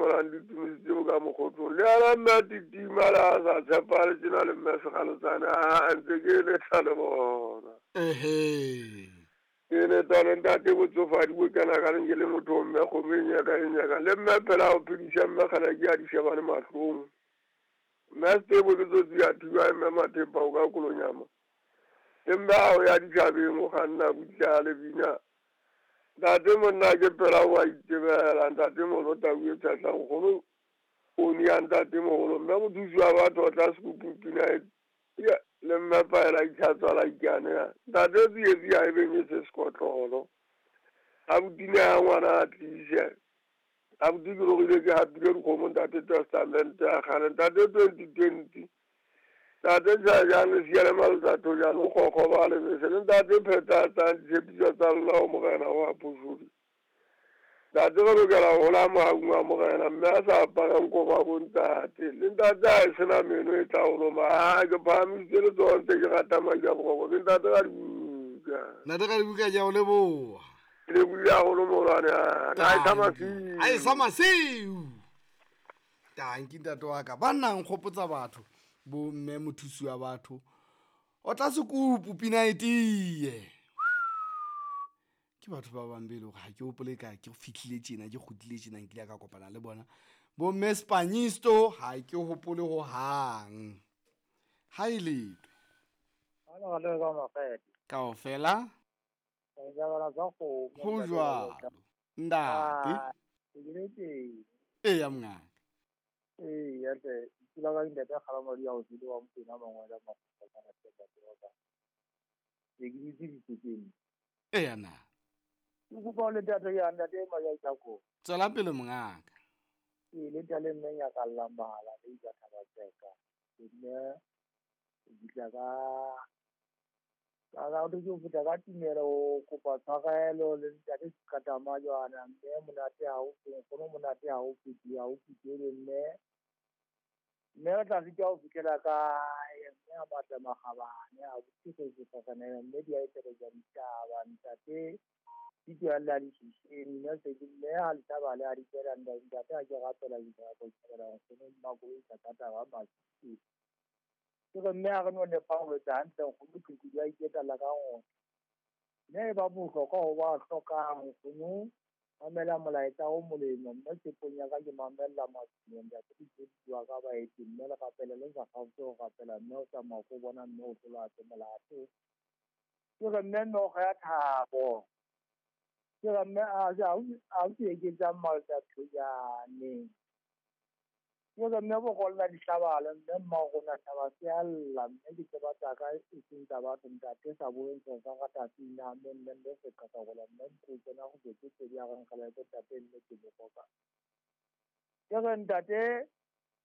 ngolang ditumiso tseo ka mokgotlong. Le ana mme a titima le a sa tshepale tjena le mme Sekgalotsane a ntse ke letha le bona. Ehe. Ke leta le ntate botsofadi bo kena ka leng ke le motho mme kgomo e nyaka e nyaka. Le mme phela o phedisa mme kgala ke a di shebane mahlong. Mme Setebo ke tsotsi ya thiba mme Mathepa o ka kolonyama. Le mme ha o ya dithabeng o kganna butle a le bina. Ntate monna ke phela o a itebela ntate moholo tau e tshehla nkgono o nia ntate moholo mme mothusi wa batho o tla sekupu pina e le mme paela itlhatswa la ikane ntate tsietsi ha e beng e se sekotlolo. Abuti ya ngwana a tlise. Abuti ke logile ke hapile dikgomo ntate testament ya kgale ntate 2020. Ntate Tjhajane le siya le maletsatho jalo kgokgo ba lebese le ntate phethatsang ditshepiso tsa lona ho morena wa phosodi. Ntate re lokela ho hola mohaung wa morena mme a sa aparang kobo bo ntate. Le ntate ha e sena meno e tla o loma. Ha ke phahamisitse letsoho ntse ke rata madi a boroko. Ke ntate ka dibuka. Ntate ka dibuka ke a o leboha. Ke lebohile haholo moholwane wa ka. A e sa masiu. A e sa masiu. Tanki ntate wa ka. Banna nkgopotsa batho. Bo mme mothusi wa batho. O tla sekupu pina e tiye. Ke batho ba bang be e le hore ha ke hopole ka ke fihlile tjena ke kgutlile tjena nkile ka kopana le bona. Bo mme Spanyisto ha ke hopole ho hang. Ha e letwe. Kaofela. Ho jwalo. Ntate. Eya mongaka. Eya hle, dula ka ntate Kgalamadi ya o tsile wa Mokwena mangwele a makgutshwanyane hle ntate wa ka. Ke ke ditse ditsekeng. Eya na. Ke kopa ho le ntate ya ntate Majaitako. Tswela pele mongaka. Ee, le ntate mme nyakallang mahala le itsa thaba tseka. Mme o fihla ka ka o ke fihla ka tumelo o kopa tshwarelo le ntate Sekatama jwana mme monate ha o nkgono monate ha o feti ha o fetele mme mme re tla sitwa ho fihlela kae mme a matla makgabane a botse go tsakanela mme di a eteletsa ditaba ntate ditso ya lla ditšhišeng mme se ke mme ha letaba le a di tsela ntate a ke rapela dinako tshela nkgono mmakoloi ka thata ba masisi. Ke re mme ha re no nepa ho etsa hantle nkgono qhiqhi di a iketala ka ngwana. Mme ba bohlokwa ho ba hlokang nkgono mamela molaetsa o molemo mme tshepong ya ka ke mamella matsimo ntate di wa ka baeti mme le rapele le sa kgaotse ho rapela mme o tsamaya ko bona mme o tlola tse molato. Ke re mme noga ya thabo. Ke re mme a a ke eketsang malta thojane. Ke re mme bogolla dihlabala mme mma rona taba se a lla mme ke tseba tsa ka e seng tsa batho ntate sa boeng sa rata sina mme mme mme se ka ka gola mme go tsena go betse pedi a re nkgala ke ntate mme ke bokoka. Ke re ntate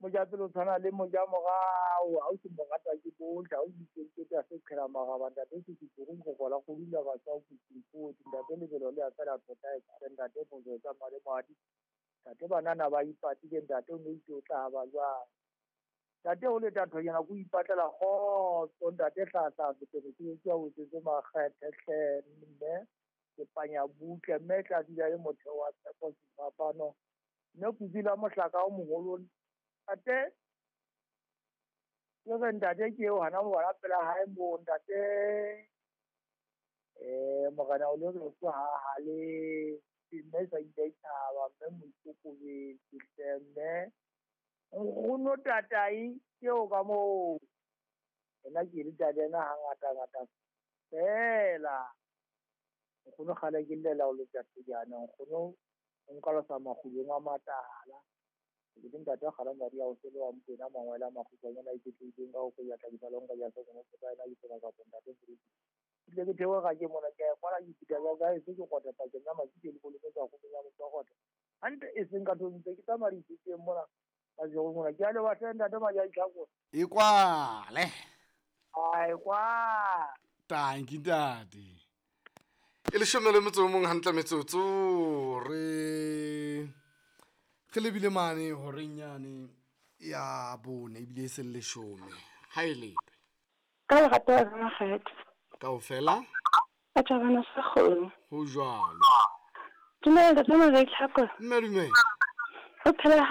mojapelo tshwana le mojamorao ha o se morata ke bohle ha o itse ke se qhela maraba ntate se se go gola go dula ba sa go tsipotse ntate lebelo le a tsela tota e ntate motho tsa madi madi. Ntate banana ba ipatile ntate o ne itse o tla ba jwang. Ntate o le tatho yena go ipatlela kgotso ntate hlahla fetele ke ke o tsetse makgethe hle mme ke panya butle mme tla dula le motho wa tshepo sefapano mme kuzila mohlaka o moholo ntate ke re ntate ke eo hana mo bona pela hae mo ntate morena o le re ha ha le mme sa ile thaba mme moikokobetse hle mme nkgono tatai ke o ka moo ena ke le tate ena hangata ngata fela nkgono kgale ke llela o le tate jaana nkgono o nka losa makgulong a matala ke le ntate Kgalamadi ya o sele wa Mokwena mangwele a makgutshwanyane a iketlehileng ka ho koja tlakisa le ho nka ja se kono ka ena ke tsela kapa ntate Moruti. Ke ke theoga ke mona ke a kwala ke fihla ka kae se ke kgotha pakeng ya masike le kolobetsa go ya motho wa kgotha hantle e seng ka ntse ke tsamaya dithuteng mona ka jego mona ke a le batla ntate Majatlhako e kwale a e kwa tanki ntate e leshome le motso o mong hantle metsotso re re lebile mane horeng yane ya bone ebile e se leshome ha e letwe ka lerato la makgetho kaofela ka thabana sa kgomo ho jwalo dumela ntate Majatlhako mme dumela o phela